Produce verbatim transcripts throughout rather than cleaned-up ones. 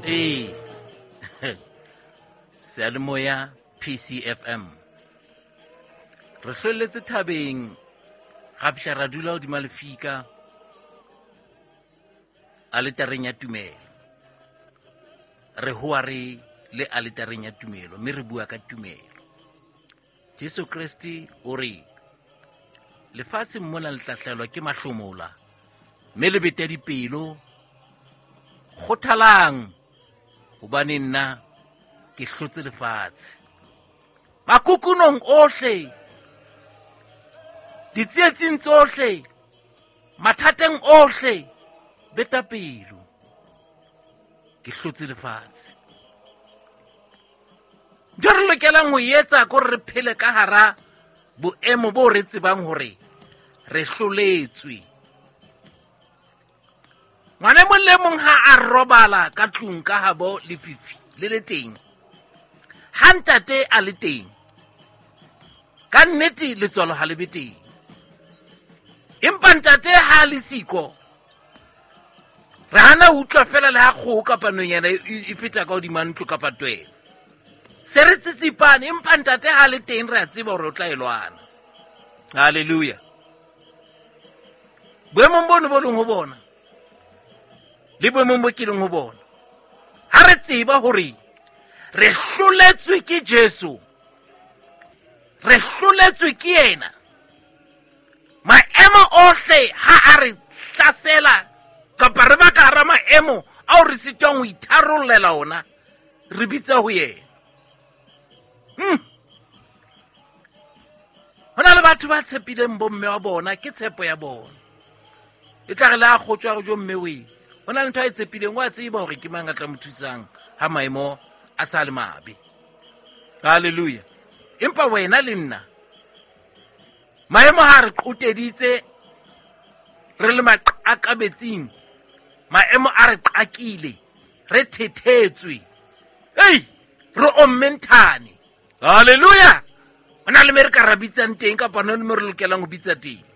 Ee, seyalemoya P C F M, re hlwelletse thabeng, ra fihla ra dula hodima lefika aletareng ya tumelo. Re hoa re le aletareng ya tumelo, mme re bua ka tumelo. Jesu Kreste o re lefatsheng mona le tla hlahelwa ke mahlomola, mme le bete dipelo, kgothalang, hobane nna ke hlotse lefatshe. Makukunong ohle, ditsietsing tsohle, mathateng ohle, beta pelo, ke hlotse lefatshe. Ntho re lokelang ho etsa ke hore re phele ka hara boemo bo re tsebang hore re hloletswe. Ngwana e mong le mong ha a robala ka tlung ka habo, lefifi le le teng, ha ntate a le teng, ka nnete letswalo ha le be teng. Empa ntate ha a le siko, re hana ho utlwa fela le ha kgoho kapa nonyana e feta ka hodima ntlo kapa twelo, se re tsitsipane. Empa ntate ha le teng, re a tseba hore o tla e lwana. Halleluja! Boemong bono bo leng ho bona le boemong bo ke leng ho bona, ha re tseba hore re hloletswe ke Jesu, re hloletswe ke yena, maemo ohle ha a re hlasela kapa re ba ka hara maemo ao re sitwang ho itharollela ona, re bitsa ho yena. hmm. Ho na le batho ba tshepileng bomme wa bona, ke tshepo ya bona. E tla re le a kgotswa re jo mme oe, ho na le ntho a e tshepileng, o a tseba hore ke mang a tla mo thusang ha maemo a sa le mabe. Halleluja! Empa wena le nna, maemo ha re qoteditse, re le maqakabetsing, maemo a re qakile, re thethetswe, ei, re ommenthane. Halleluja! Ho na le me re ka ra bitsang teng, kapa na le me re lokelang ho bitsa teng.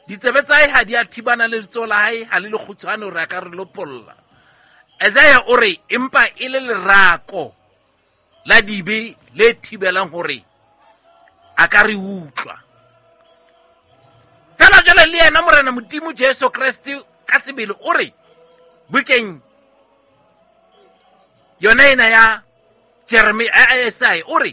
Ditsebe tsa hae ha di a thibana, le letsoho la hae ha le le kgutshwane hore a ka re lopolla. Isaiah o re empa e le lerako la dibe le thibelang hore a ka re utlwa. Fela jwale le yena Morena Modimo Jesu Kreste ka sebele o re bukeng yona ena ya Jeremia, Isaiah o re